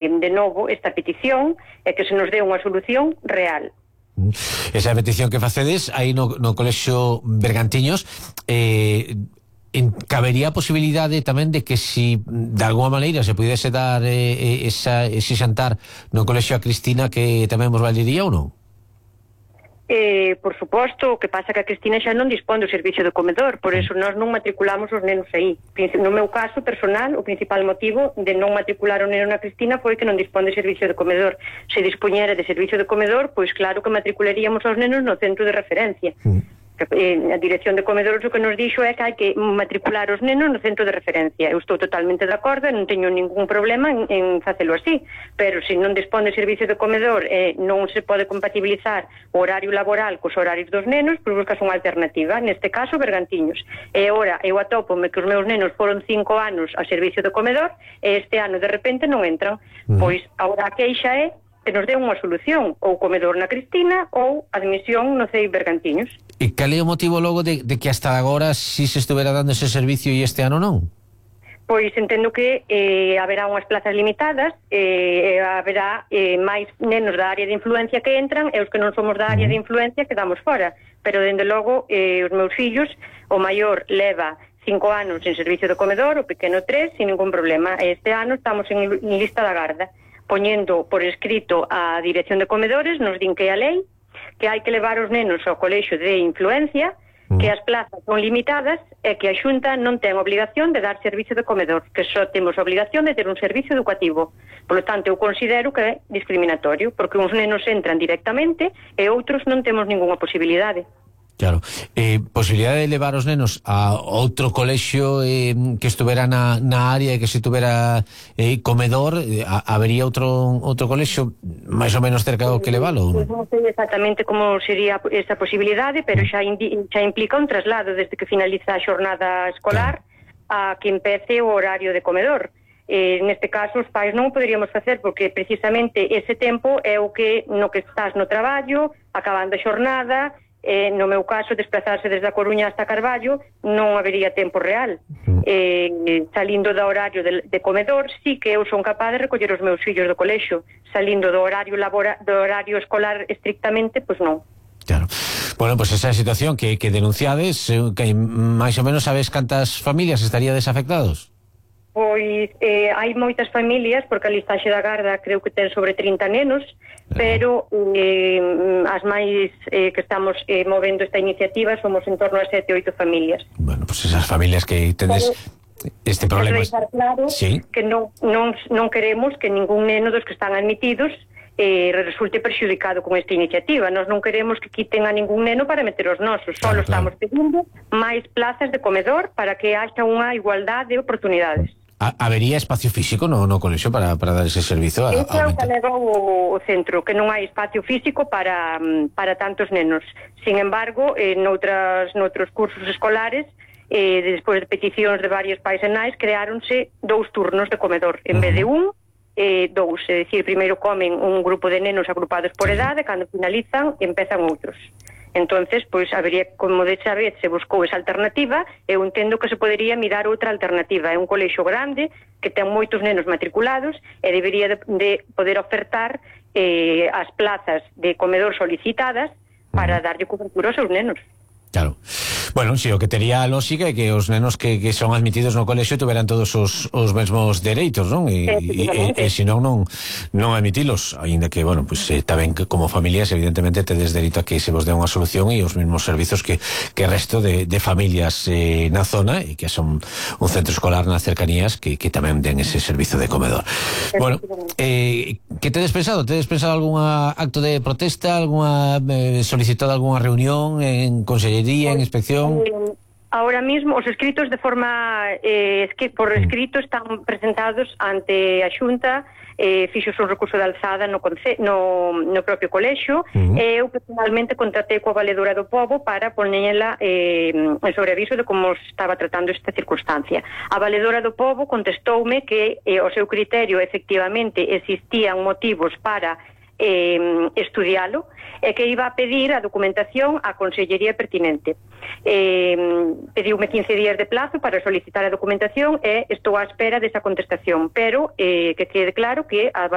de novo esta petición e que se nos dé unha solución real. Esa petición que facedes aí no Colexio Bergantiños, cabería a posibilidade tamén de que si de alguma maneira se pudese dar ese xantar no Colexio a Cristina, que tamén vos valería ou non? Por suposto, o que pasa que a Cristina xa non dispón do servicio de comedor, por eso nós non matriculamos os nenos aí. No meu caso personal, o principal motivo de non matricular o neno na Cristina foi que non dispón de servicio de comedor. Se dispoñera de servicio de comedor, pois claro que matricularíamos os nenos no centro de referencia. A dirección de comedores o que nos dixo é que hai que matricular os nenos no centro de referencia. Eu estou totalmente de acordo, non teño ningún problema en facelo así, pero se non dispón de servicio de comedor e non se pode compatibilizar o horario laboral cos horarios dos nenos, pois buscas unha alternativa, neste caso Bergantiños. E agora eu atópome que os meus nenos foron 5 anos a servicio de comedor e este ano de repente non entran. Pois agora a queixa é que nos dé unha solución, ou comedor na Cristina ou admisión no CEI Bergantiños. E cal é o motivo logo de que hasta agora si se estuvera dando ese servicio e este ano non? Pois entendo que haberá unhas plazas limitadas, haberá máis nenos da área de influencia que entran e os que non somos da área de influencia quedamos fora. Pero, dende logo, os meus fillos, o maior leva 5 anos en servicio de comedor, o pequeno 3, sin ningún problema. Este ano estamos en lista da garda, poñendo por escrito a dirección de comedores, nos din que é a lei, que hai que levar os nenos ao colexio de influencia, que as plazas son limitadas e que a Xunta non ten obligación de dar servicio de comedor, que só temos obligación de ter un servicio educativo. Por lo tanto, eu considero que é discriminatorio, porque uns nenos entran directamente e outros non temos ninguna posibilidade. Claro, posibilidade de levar os nenos a outro colexio que estuvera na área e que se tuvera comedor, habería outro colexio máis ou menos cerca do que levalo? Non sei exactamente como sería esa posibilidade, pero xa implica un traslado desde que finaliza a xornada escolar a que empece o horario de comedor. Neste caso os pais non o poderíamos facer porque precisamente ese tempo é o que no que estás no traballo, acabando a xornada. No meu caso, desplazarse desde a Coruña hasta Carballo non habería tempo real. Salindo do horario de comedor, sí que eu son capaz de recoller os meus fillos do colexio. Salindo do horario escolar estrictamente, pois non. Claro. Bueno, pois esa situación que denunciades, que máis ou menos sabes cantas familias estaríades afectados? Pois hai moitas familias, porque a listaxe da garda creo que ten sobre 30 nenos, pero as máis que estamos movendo esta iniciativa somos en torno a 7 ou 8 familias. Bueno, pois esas familias que tendes este problema. Claro, sí, que non queremos que ningún neno dos que están admitidos resulte perxudicado con esta iniciativa. Nós non queremos que quiten a ningún neno para meter os nosos. Solo estamos pedindo máis plazas de comedor para que haxa unha igualdade de oportunidades. Habería espacio físico no colexio para dar ese servizo? Ese é o que leva o centro, que non hai espacio físico para tantos nenos. Sin embargo, noutros cursos escolares, despois de peticións de varios pais e nais, creáronse 2 turnos de comedor, en vez de 1, 2, é dicir, primeiro comen un grupo de nenos agrupados por edade, cando finalizan, empezan outros. Entonces, pois, habería, como desa vez se buscou esa alternativa, eu entendo que se podería mirar outra alternativa. É un colexio grande, que ten moitos nenos matriculados, e debería de poder ofertar as plazas de comedor solicitadas para darlle cobertura aos seus nenos. Claro. Bueno, si o que tería a lógica é que os nenos que son admitidos no colexio tuveran todos os mesmos dereitos, non? E senón non admitilos, aínda que, bueno, pues tamén que como familias evidentemente tedes dereito a que se vos dé unha solución e os mesmos servizos que resto de familias na zona e que son un centro escolar nas cercanías que tamén den ese servizo de comedor. Bueno, que tedes pensado? Tedes pensado algún acto de protesta, solicitado algunha reunión en consellería, en inspección? Ahora mismo os escritos de forma por escrito están presentados ante a Xunta, fixos un recurso de alzada no propio colexio, e eu personalmente contratei coa Valedora do Pobo para poñela en sobreaviso de como estaba tratando esta circunstancia. A Valedora do Pobo contestoume que o seu criterio efectivamente existían motivos para estudialo e que iba a pedir a documentación á Consellería pertinente. Pediume 15 días de plazo para solicitar a documentación e estou á espera desa contestación, pero que quede claro que a